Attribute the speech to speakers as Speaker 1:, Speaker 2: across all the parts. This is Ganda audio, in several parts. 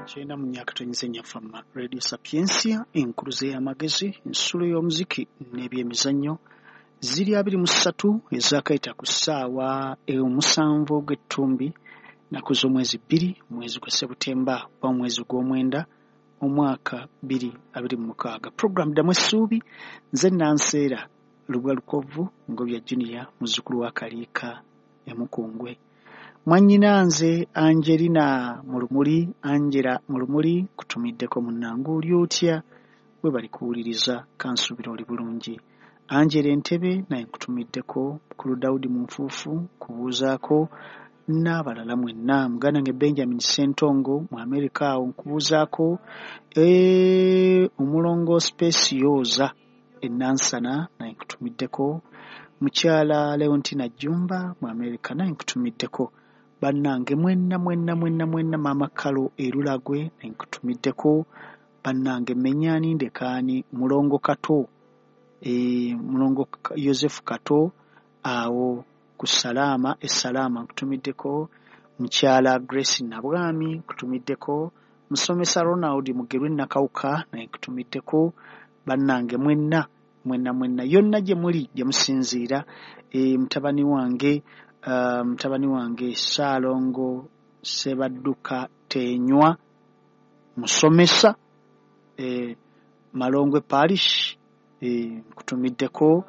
Speaker 1: 94.4 FM Radio Sapientia, enkuluze y'amagezi, ensulo y'omuziki n'ebyemizannyo. Ziri 23 ezakayita ku ssaawa 7 ogw'ettumbi, nnaku z'omwezi 2, mwezi gwa Sebutemba oba mwezi gw'omwenda omwaka 2026. Program Ddamu Essuubi, nze Nanseera Lubwa Lukovu Ngobya Junior, muzzukulu wa Kaliika e Mukungwe. Mwannyina nze Angelina Mulumuli, Angela Mulumuli, kutumiddeko munnange oli otya? Webale kuwuliriza, kansuubira oli bulungi. Angela Entebe naye nkutumiddeko, Mukulu Daudi Munfuufu nkubuuzaako, n'abalala mwenna. Muganda wange Benjamin Ssentongo mu Amerika awo nkubuuzaako, Omulongo Specioza e Nansana naye nkutumiddeko, Mukyala Leontina Jjumba mu Amerika naye nkutumiddeko. Bannange mwenna mwenna mwenna mwenna, Maama Kalo e Lulagwe naye nkutumiddeko. Bannange mmenyaani ndekaani, Mulongo Kato, Mulongo Yosefu Kato awo ku Salaama e Salaama nkutumiddeko, Mukyala Grace Nabwami nkutumiddeko, Musomesa Ronald Mugerwe Nakawuka naye nkutumiddeko. Bannange mwenna mwenna mwenna yonna gye muli gye musinziira, mutabani wange Ssaalongo Ssebadduka Teenywa musomesa Malongwe Parish, nkutumiddeko,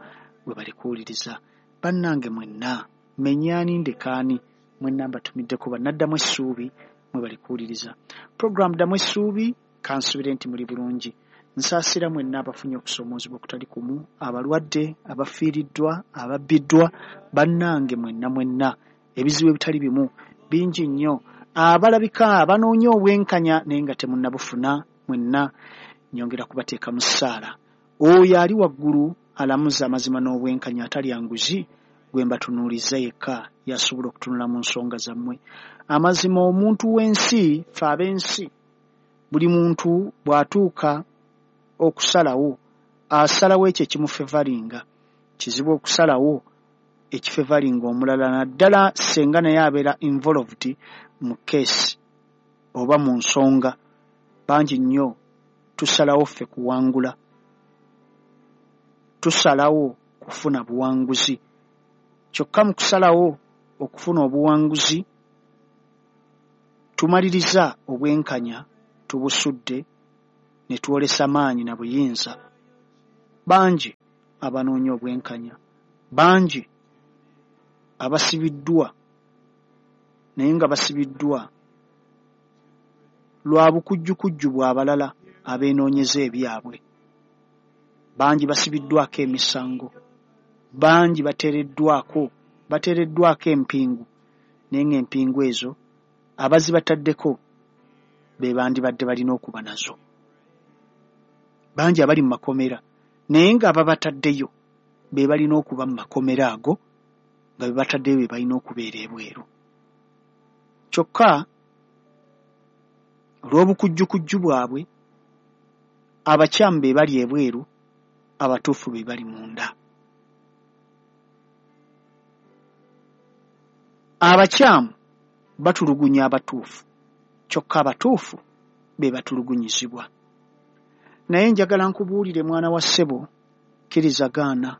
Speaker 1: webale kuwuliriza. Bannange mwenna mmenyaani ndekaani, mwenna mbatumiddeko, bannaddamu essuubi, mwebale kuwuliriza. Program Ddamu Essuubi, kansuubire nti muli bulungi. Nsaasira mwenna abafunye okusoomoozebwa okutali kumu, abalwadde, abafiiriddwa, ababbiddwa, bannange mwenna mwenna, ebizibu ebitali bimu bingi nnyo, abalabika abanoonya obwenkanya naye nga temunnabufuna, mwenna nyongera kubateeka mu ssaala. Oyo ali waggulu alamuza amazima n'obwenkanya atalya nguzi, gwe mbatunuuliza yekka y'asobola okutunula mu nsonga zammwe. Amazima omuntu w'ensi, ffe ab'ensi, buli muntu bw'atuuka okusalawo, asalawo ekyo ekimufevalinga. Kizibu okusalawo ekifevalinga omulala, naddala ssenga naye abeera involved mu case oba mu nsonga. Bangi nnyo tusalawo ffe kuwangula, tusalawo kufuna buwanguzi. Kyokka mu kusalawo okufuna obuwanguzi tumaliriza obwenkanya tubusudde ne twolesa maanyi na buyinza. Bangi abanoonya obwenkanya, bangi abasibiddwa naye nga basibiddwa lwa bukujjukujju bw'abalala abeenoonyeza ebyabwe. Bangi basibiddwako emisango, bangi bateereddwako empingu, naye ng'empingu ezo abazibataddeko be bandibadde balina okuba nazo. Bangi abali mu makomera naye nga ababataddeyo be balina okuba mu makomera ago, nga be bataddeyo be balina okubeera ebweru. Kyokka olw'obukujjukujju bwabwe, abakyamu be bali ebweru, abatuufu be bali munda. Abakyamu batulugunya abatuufu, kyokka abatuufu be batulugunyizibwa. Naye njagala nkubuulire mwana wa ssebo, kkiriza gaana,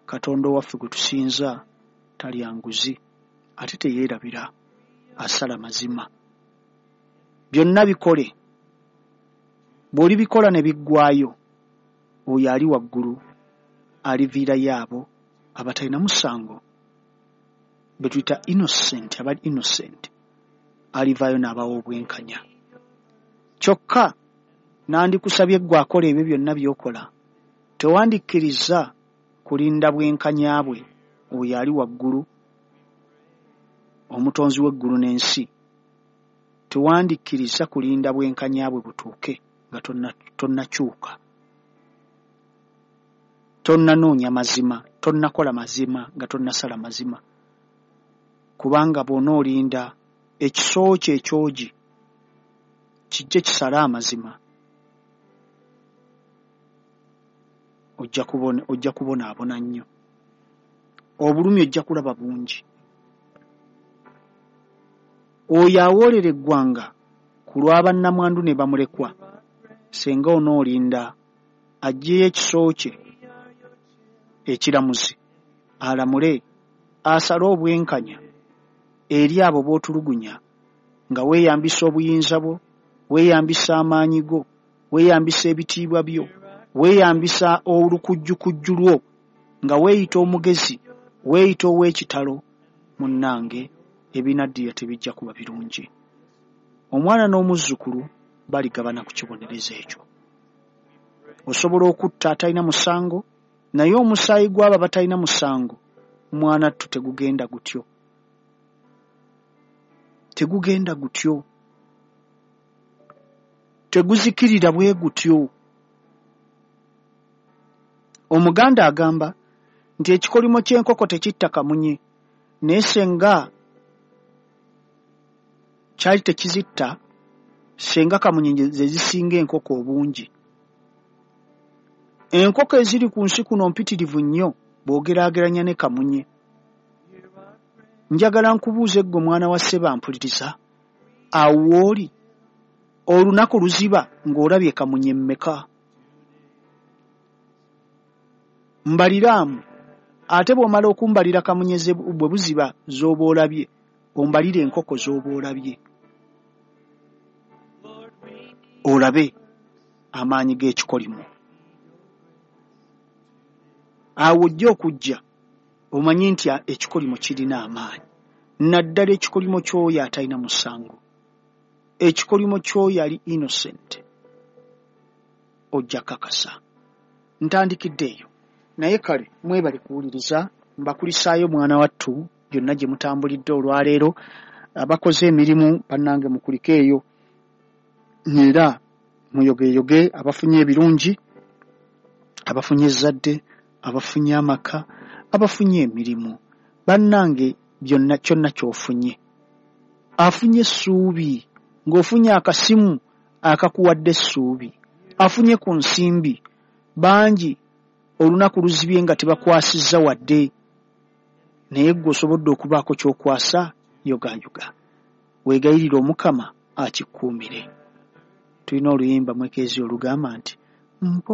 Speaker 1: Katonda owaffe gwe tusinza talya nguzi, ate teyeerabira, asala mazima. Byonna bikole, bw'olibikola ne biggwaayo, oyo ali waggulu aliviirayo abo abatalina musango, be tuyita innocent, abali innocent, alivaayo n'abawa obwenkanya. Kyokka nandikusabye ggwe akola ebyo byonna by'okola, tewandikkiriza kulinda bwenkanya bwe oyo ali waggulu, omutonzi w'eggulu n'ensi. Tewandikkiriza kulinda bwenkanya bwe butuuke nga tonnakyuka, tonnanoonya mazima, tonnakola mazima, nga tonnasala mazima. Kubanga bw'onoolinda ekiso kyo ekyogi kijje kisale amazima, ojja kubonaabona nnyo. Obulumi ojja kulaba bungi. Oyo awoolera eggwanga Ku lwa bannamwandu ne bamulekwa, senga onoolinda aggyeyo ekiso kye ekiramuzi alamule asale obwenkanya eri abo b'otulugunya nga weeyambisa obuyinza bwo, weeyambisa amaanyi go, weeyambisa ebitiibwa byo, weeyambisa olukujjukujju lwo nga weeyita omugezi, weeyita ow'ekitalo. Munnange, ebinaddirira tebijja kuba birungi. Omwana n'omuzzukulu baligabana ku kibonerezo ekyo. Osobola okutta atalina musango, naye omusaayi gw'abo abatalina musango mwana ttu tegugenda gutyo. Tegugenda gutyo. Teguzikirira bwe gutyo. Omuganda agamba nti ekikolimo ky'enkoko tekitta kamunye, naye senga kyali tekizitta, senga kamunye ze zisinga enkoko obungi. Enkoko eziri ku nsi kuno mpitirivu nnyo bw'ogeraageranya ne kamunye. Njagala nkubuuze ggwe mwana wa sseba mpuliriza, awo w'oli olunaku luziba ng'olabye kamunye mmeka? Mbaliraamu, ate bw'omala okumbalira kamunye bwe buziba z'oba olabye, ombalire enkoko z'oba olabye, olabe amaanyi g'ekikolimo. Awo ojja okujja omanye nti ekikolimo kirina amaanyi, naddala ekikolimo ky'oyo atalina musango, ekikolimo ky'oyo ali innocent. Ojja kakasa. Ntandikidde eyo, naye kale mwebale kuwuliriza. Mbakulisaayo mwana wattu byonna gye mutambulidde olwaleero. Abakoze emirimu bannange mukulike eyo era muyogeyoge, abafunye ebirungi, abafunye ezzadde, abafunye amaka, abafunye emirimu, bannange byonna kyonna ky'ofunye, afunye essuubi ng'ofunye akasimu akakuwadde essuubi, afunye ku nsimbi. Bangi olunaku luzibye nga tebakwasizza wadde, naye ggwe osobodde okubaako ky'okwasa. Yogaayoga, weegayirire Omukama akikuumire. Tulina oluyimba mwekeezi olugamba nti